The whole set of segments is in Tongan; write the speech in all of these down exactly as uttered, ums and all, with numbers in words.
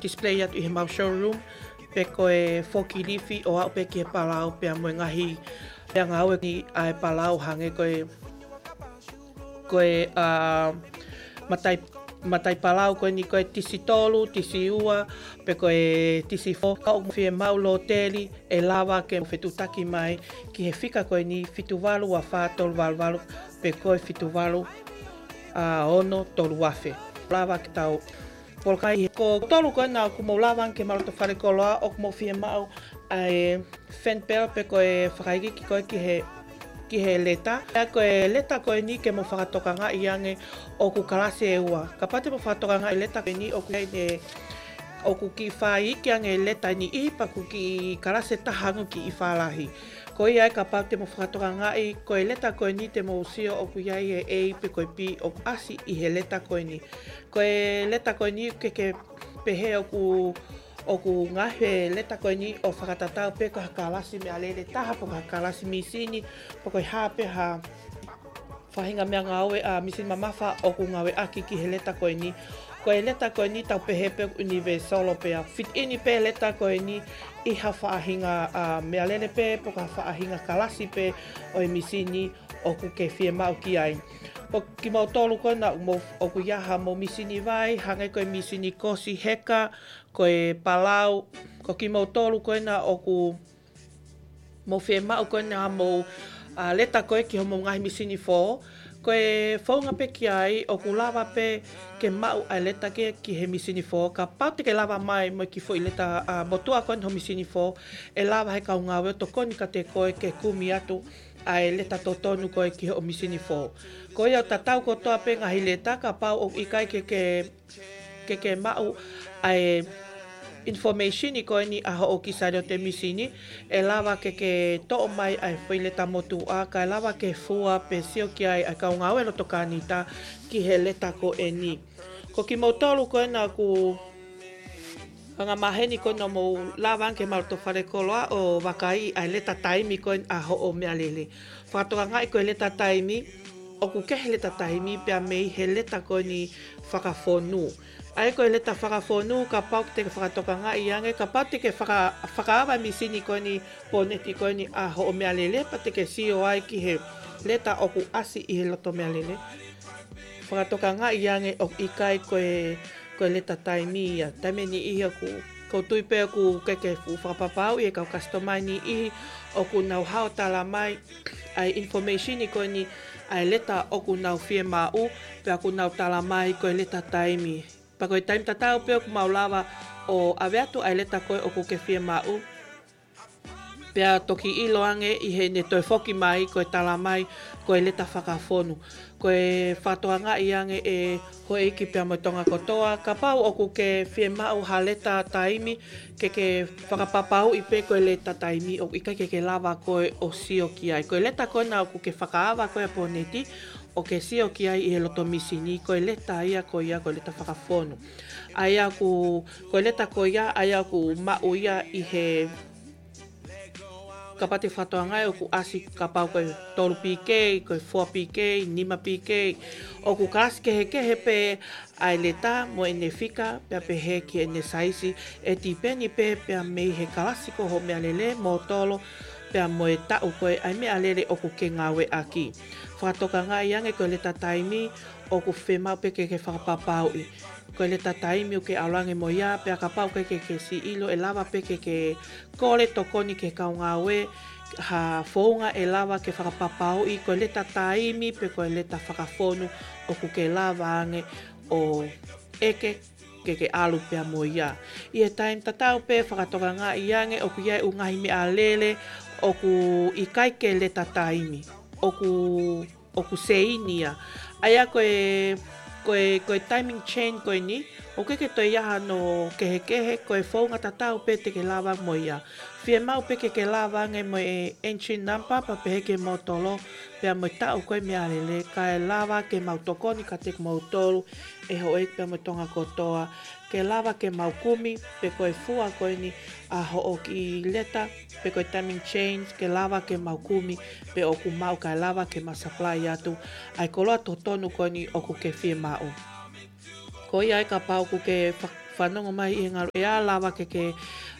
display atu ʻi he mau showroom, pe ko e forklift ʻo aʻu pē ki he palau pea mo e ngaahi meʻangāue ni ʻa e palau hangē ko e, ko e, ʻa, matai, matai palau ko eni ko e tisi tolu, tisi ua, pe ko e tisi fo, ka ʻoku fiemaʻu lōteli, ʻe lava ke fetuʻutaki mai ki he fika ko eni fitu valu ua fā tolu valu valu, pe ko e fitu valu, ʻa, ono tolu afe. Lava ke tau polokalama ʻi he, ko e tolu ko ena ʻoku mou lava ange ke mou loto fale koloa ʻoku mou fiemaʻu ʻa e fan bell pe ko e fakaikiiki ko ē ki he, ki he leta. ʻA ia ko e leta ko eni ke mou fakatokangaʻi ange ʻoku kalasi ʻe ua. Kapau te mou fakatokangaʻi leta ko eni ʻoku ʻi ai ʻene, ʻoku kiʻi faiʻaki ange leta ʻe niʻihi pea ʻoku kiʻi kalasi ʻe taha ange kiʻi fālahi. Ko ia ai kapau te mou fakatokangaʻi, ko e leta ko eni te mou sio ʻoku ʻi ai e A pe ko e B ʻoku ʻasi ʻi he leta ko eni. Ko e leta ko eni ke ke pehē ʻoku, ʻoku ngaohi e leta ko eni ʻo fakatatau pē ko ha kalasi meʻalele taha, pe ko ha kalasi mīsini, pe ko e hā pē ha faʻahinga meʻangāue ʻa mīsini mamafa ʻoku ngāueʻaki ki he leta ko eni. Ko e leta ko eni tau pehē pē ʻoku universal pē ʻa fit in pē leta ko eni ʻi ha faʻahinga, ʻa, meʻalele pē, pe ko ha faʻahinga kalasi pē ʻo e mīsini ʻoku ke fiemaʻu ki ai. Ko kimoutolu ko ena ʻoku mou, ʻoku ʻi ai haʻamou mīsini vai, hangē ko e mīsini kosi heka, ko e palau, ko kimoutolu ko ena ʻoku mou fiemaʻu ko ena haʻamou, ʻa, leta ko ē ki hoʻomou ngaahi mīsini fō. Ko e founga pē ki ai ʻoku lava pē ke maʻu ʻa e leta ki, ki he mīsini fō. Kapau te ke lava mai mo e kiʻi foʻi leta, ʻa, motuʻa ko ena ho mīsini fō, ʻe lava he kau ngāue ʻo tokoni kiate koe ke kumi atu ʻa e leta totonu ko ē ki hoʻo mīsini fō. Ko ia ʻoku tatau kotoa pē ngaahi leta, kapau ʻoku ʻikai ke ke, ke ke maʻu ʻa e information ko eni ʻa hoʻo kiʻi sāliote mīsini, ʻe lava ke ke toʻo mai ʻa e foʻi leta motuʻa, kae lava ke fua pe sio ki ai ʻa e kau ngāue loto Kānita ki he leta ko eni. Ko kimoutolu ko ena ʻoku angamaheni ko ena mou lava ange ke mou loto fale koloa ʻo vakaiʻi ʻa e leta taimi ko ena ʻa hoʻo meʻalele. Fakatokangaʻi ko e leta taimi, ʻoku kehe leta taimi pea mei he leta ko eni fakafonu. ʻA ia ko e leta fakafonu, kapau te ke fakatokangaʻi ange, kapau te ke faka-, fakaava mīsini ko eni poneti ko eni ʻa hoʻo meʻalele, pea te ke sio ai ki he leta ʻoku ʻasi ʻi he loto meʻalele. Fakatokangaʻi ange ʻoku ʻikai ko e, ko e leta taimi ia. Taimi ʻe niʻihi ʻoku, ʻoku ou tui pē ʻoku ke ke fuʻu fakapapauʻi e kau customer ʻe niʻihi ʻoku nau hao tala mai ʻa e information ko eni ʻa e leta ʻoku nau fiemaʻu, pea ʻoku nau tala mai ko e leta taimi. Pea ko e taimi tatau pē ʻoku mau lava ʻo ʻave atu ʻa e leta ko ē ʻoku ke fiemaʻu. Pea toki ʻilo ange ʻi heʻene toe foki mai ko e tala mai ko e leta fakafonu. Ko e fakatokangaʻi ange ʻe houʻeiki pea mo Tonga kotoa, kapau ʻoku ke fiemaʻu ha leta taimi, ke ke fakapapauʻi pē ko e leta taimi, ʻoku ʻikai ke ke lava koe ʻo sio ki ai. Ko e leta ko ena ʻoku ke fakaava ko ē ʻa poneti, ʻo ke sio ki ai ʻi he loto mīsini, ko e leta ia ko ia ko e leta fakafonu. ʻA ia ʻoku, ko e leta ko ia, ʻa ia ʻoku maʻu ia ʻi he, kapau te fakatokangaʻi ʻoku ʻasi kapau ko e tolu P K, ko e four P K, nima P K, ʻoku kalasi kehekehe pē ʻa e leta mo ʻene fika, pea pehē ki heʻene saisi, ʻe tipeni pē pea mei he kalasi ko hoʻo meʻalele, mōtolo, pea mo e taʻu ko ē ʻa e meʻalele ʻoku ke ngāueʻaki. Fakatokangaʻi ange ko e leta taimi, ʻoku fiemaʻu pē ke ke fakapapauʻi. Ko e leta taimi ʻoku ke ʻalu ange mo ia, pea kapau ʻoku ʻikai ke ke siʻi ʻilo, ʻe lava pē ke ke kole tokoni ki he kau ngāue, ha founga ʻe lava ke fakapapauʻi, ko e leta taimi pe ko e leta fakafonu ʻoku ke lava ange ʻo ʻeke ke ke ʻalu pea mo ia. ʻI he taimi tatau pē fakatokangaʻi ange ʻoku ʻi ai e ʻū ngaahi meʻalele ʻoku ʻikai ke leta taimi. ʻOku ʻoku seini ia. ʻA ia ko e, ko e, ko e timing chain ko eni, ʻoku ʻikai ke toe ʻi ai hano kehekehe, ko e founga tatau pē te ke lava mo ia. Fiemaʻu pē ke ke lava ange mo e engine number, pea pehē ki he mōtolo, pea mo e taʻu ko ē meʻalele, kae lava ke mau tokoni kiate kimoutolu, ʻe houʻeiki pea mo Tonga kotoa, ke lava ke mau kumi, pe ko e fua ko eni ʻa hoʻo kiʻi leta, pe ko e timing chain, ke lava ke mau kumi, pe ʻoku maʻu kae lava ke mau supply atu ʻa e koloa totonu ko eni ʻoku ke fiemaʻu. Ko ia ai kapau ʻoku ke fa-, fanongo mai ʻi he ngaluʻea, lava ke ke,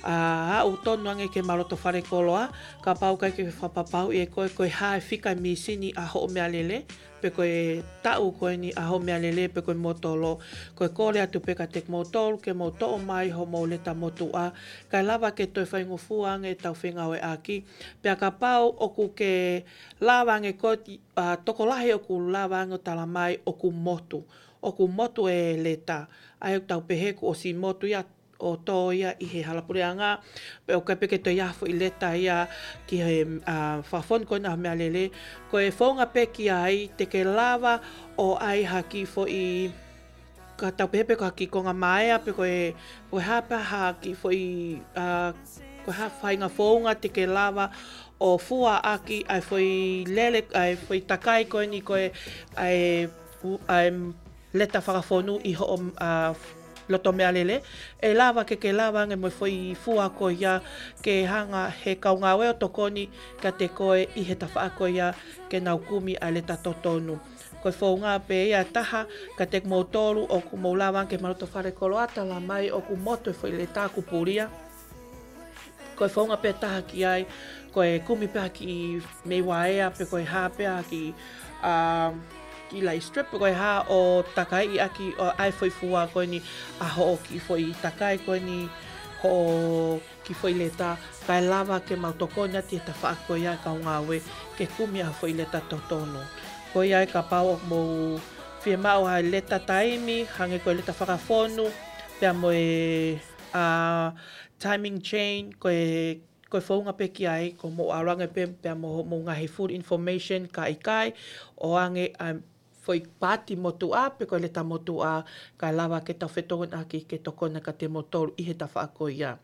ʻa, aʻu tonu ange ki he mau loto fale koloa, kapau ʻoku ʻikai ke fakapapauʻi ʻe koe ko e hā e fika e mīsini ʻa hoʻo meʻalele, pe ko e taʻu ko eni ʻa hoʻo meʻalele, pe ko e motolo, ko e kole atu pē kiate kimoutolu ke mou toʻo mai hoʻomou leta motuʻa, kae lava ke toe faingofua ange ʻetau fengāueʻaki, pea kapau ʻoku ke lava ange ko e, ʻa, tokolahi ʻoku lava ange ʻo tala mai ʻoku motu, ʻoku motu e leta, ʻa ia ʻoku tau pehē kuo ʻosi motu ia ʻo tō ia ʻi he hala puleʻanga, pe ʻoku ʻikai pē ke toe ʻi ai ha foʻi leta ia ki he, ʻa, fakafonu ko ena ʻa e meʻalele, ko e founga pē ki ai te ke lava ʻo ʻai ha kiʻi foʻi, ka tau pehē pē ko ha kiʻi konga maea, pe ko e, ko e hā pē ha kiʻi foʻi, ʻa, ko e hā faʻahinga founga te ke lava ʻo fua ʻaki ʻa e foʻi lele, ʻa e foʻi takai ko eni ko e, ʻa e, ʻa e leta fakafonu ʻi hoʻo, ʻa, loto meʻalele, ʻe lava ke ke lava ange mo e foʻi fua ko ia ke hanga he kau ngāue ʻo tokoni kiate koe ʻi he tafaʻaki ko ia ke nau kumi ʻa e leta totonu. Ko e founga pē ia ʻe taha kiate kimoutolu ʻoku mou lava ange ki he mau loto fale koloa, tala mai ʻoku motu e foʻi leta kuo pulia. Ko e founga pē ʻe taha ki ai, ko e kumi pē ha kiʻi mei vaea, pe ko e hā pē ha kiʻi, ʻa, kiʻi laʻi strip, pe ko e hā ʻo takaiʻi ʻaki ʻo ʻai foʻi fua ko eni ʻa hoʻo kiʻi foʻi takai ko eni hoʻo kiʻi foʻi leta, kae lava ke mau tokoni atu he tafaʻaki ko ia kau ngāue ke kumi ʻa e foʻi leta totonu. Ko ia ʻe kapau ʻoku mou fiemaʻu ha leta taimi, hangē ko e leta fakafonu, pea mo e, ʻa, timing chain, ko e, ko e founga pē ki ai, ko hoʻomou ʻalu ange pē, pea mo hoʻomou ngaahi full information ka ʻikai, ʻoange ʻa e foʻi paati motuʻa, pe ko e leta motuʻa, kae lava ke tau fetokoniʻaki ke tokoni kiate kimoutolu ʻi he tafaʻaki ko ia.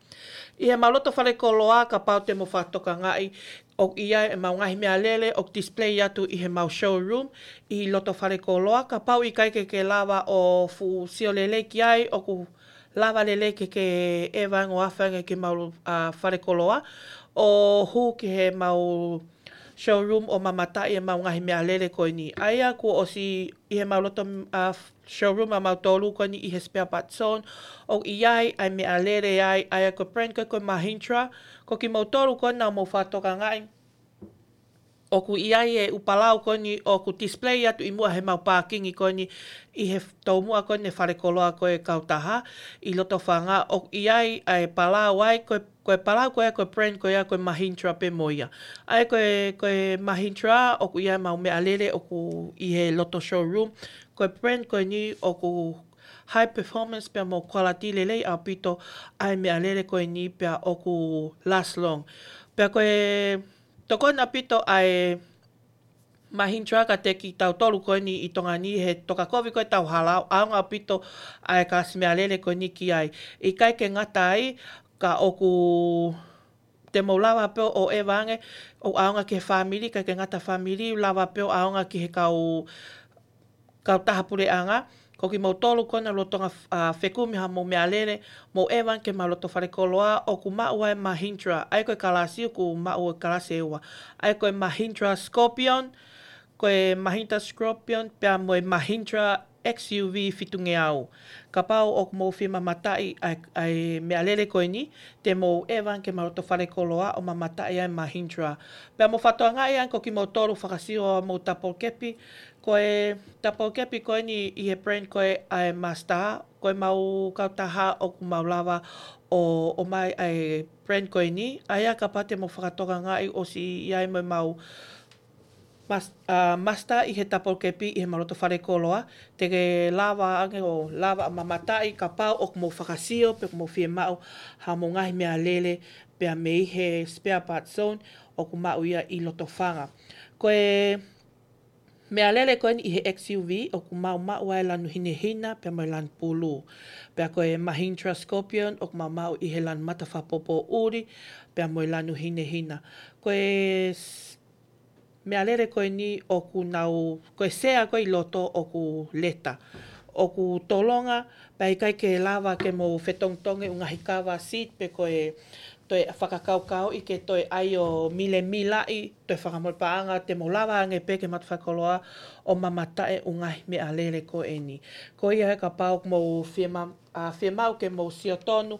ʻI he mau loto fale koloa, kapau te mou fakatokangaʻi, ʻoku ʻi ai ʻemau ngaahi meʻalele ʻoku display atu ʻi he mau showroom ʻi loto fale koloa, kapau ʻikai ke ke lava ʻo fuʻu sio lelei ki ai, ʻoku lava lelei ke ke ʻeva ange ʻo afe ange ki he mau, ʻa, fale koloa, ʻo hū ki he mau showroom ʻo mamataʻi ʻemau ngaahi meʻalele ko eni. ʻA ia kuo ʻosi ʻi he mau loto, ʻa, showroom ʻamautolu ko eni ʻi he spare part zone, ʻoku ʻi ai ʻa e meʻalele ai, ʻa ia ko e brand ko ē ko e Mahindra, ko kimoutolu ko ena ʻoku mou fakatokangaʻi ʻoku ʻi ai e ʻū palau ko eni ʻoku display atu ʻi muʻa he mau pākingi ko eni ʻi he tomuʻa ko eni e fale koloa ko e kautaha ʻi Lotofanga, ʻoku ʻi ai ʻa e palau ai, ko e, ko e palau ko ia ko e brand ko ia ko e Mahindra pē mo ia. ʻA ia ko e, ko e Mahindra ʻoku ʻi ai ʻemau meʻalele ʻoku ʻi he loto showroom, ko e brand ko eni ʻoku high performance pea mo quality lelei ʻaupito ʻa e meʻalele ko eni pea ʻoku last long. Pea ko e tokoni ʻaupito ʻa e Mahindra kiate kitautolu ko eni ʻi Tonga ni he tokakovi ko ē ʻetau hala, ʻaonga ʻaupito ʻa e kalasi meʻalele ko eni ki ai. ʻIkai ke ngata ai, ka ʻoku te mou lava pē ʻo ʻeva ange, ʻo ʻaonga ki he fāmili, ʻikai ke ngata fāmili, lava pē ʻo ʻaonga ki he kau, kautaha puleʻanga, ko kimoutolu ko ena lolotonga, ʻa, fekumi haʻamou meʻalele, mou ʻeva ange ki he mau loto fale koloa, ʻoku maʻu ai e Mahindra, ʻa ia ko e kalasi ʻoku maʻu e kalasi ʻe ua. ʻA ia ko e Mahindra Scorpion, ko e Mahindra Scorpion, pea mo e Mahindra X U V fitungeau. Kapau ʻoku mou fie mamataʻi ʻa e, ʻa e meʻalele ko eni, te mou ʻeva ange ki he mau loto fale koloa ʻo mamataʻi ʻa e Mahindra. Pea mou fakatokangaʻi ange ko kimoutolu fakasio ʻa e mau double cab, ko e double cab ko eni ʻi he brand ko ē ʻa e Mazda, ko e mau kautaha ʻoku mau lava ʻo, ʻomai ʻa e brand ko eni, ʻa ia kapau te mou fakatokangaʻi ʻosi ʻi ai mo e mau Mas-, ʻa, Mazda ʻi he double cab ʻi he mau loto fale koloa, te ke lava ange ʻo lava ʻo mamataʻi kapau ʻoku mou fakasio pe ʻoku mou fiemaʻu haʻamou ngaahi meʻalele pea mei he spare part zone ʻoku maʻu ia ʻi Lotofanga. Ko e meʻalele ko eni ʻi he X U V ʻoku mau maʻu ai e lanu hinehina pea mo e lanu pulū. Pea ko e Mahindra Scorpion ʻoku mau maʻu ʻi he lanu matafakapoʻuli pea mo e lanu hinehina. Ko e s-, meʻalele ko eni ʻoku nau, ko e sea ko ē ʻi loto ʻoku leta. ʻOku tolonga, pea ʻikai ke lava ke mou fetongitongi e ʻū ngaahi kava seat pe ko e toe fakakaukauʻi ke toe ʻai ʻo milemilaʻi, toe fakamole paʻanga, te mou lava ange pē ki he mau loto fale koloa ʻo mamataʻi e ʻū ngaahi meʻalele ko eni. Ko ia he kapau ʻoku mou fie ma-, ʻa, fiemaʻu ke mou sio tonu,